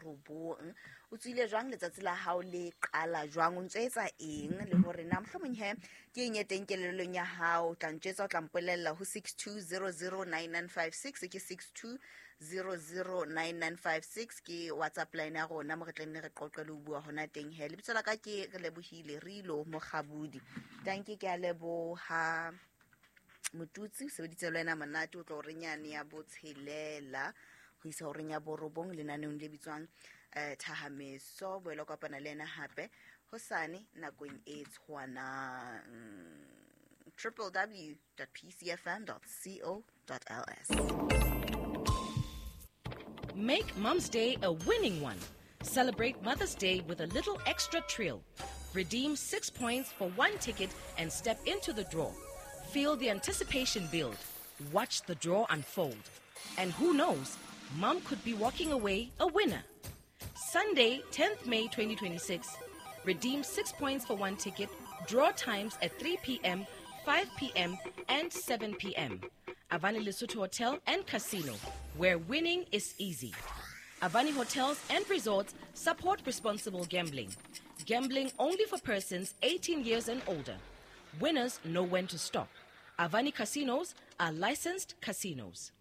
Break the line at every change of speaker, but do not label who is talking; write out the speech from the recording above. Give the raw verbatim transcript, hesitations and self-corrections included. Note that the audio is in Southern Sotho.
robong. O tswile jwang letsatsi la hao le qala jwang, o ntso etsa eng, le hore na mohlomong he ke eng e teng kelellong ya hao. O tla ntjwetsa, o tla mpolella ho six two zero zero nine nine five six, ke six two zero zero nine nine five six ke WhatsApp line ya rona mo re tla nne re qoqe le ho bua hona teng he. Lebitso la ka ke re lebohile Rilo Mokgabudi. Tanki, ke a leboha Motutsi, o sebeditse le wena monate o tlo horeng yane ya botshelela ho isa horeng ya borobong lenaneong le bitswang eh Thahameso. Boela kopana le yena hape hosane nakong e tshwanang. triple w dot p c f m dot co dot l s.
Make Mom's Day a winning one. Celebrate Mother's Day with a little extra thrill. Redeem six points for one ticket and step into the draw. Feel the anticipation build. Watch the draw unfold. And who knows, Mom could be walking away a winner. Sunday, tenth May twenty twenty-six. Redeem six points for one ticket. Draw times at three P M, five P M and seven P M. Avani Lesotho Hotel and Casino, where winning is easy. Avani Hotels and Resorts support responsible gambling. Gambling only for persons eighteen years and older. Winners know when to stop. Avani Casinos are licensed casinos.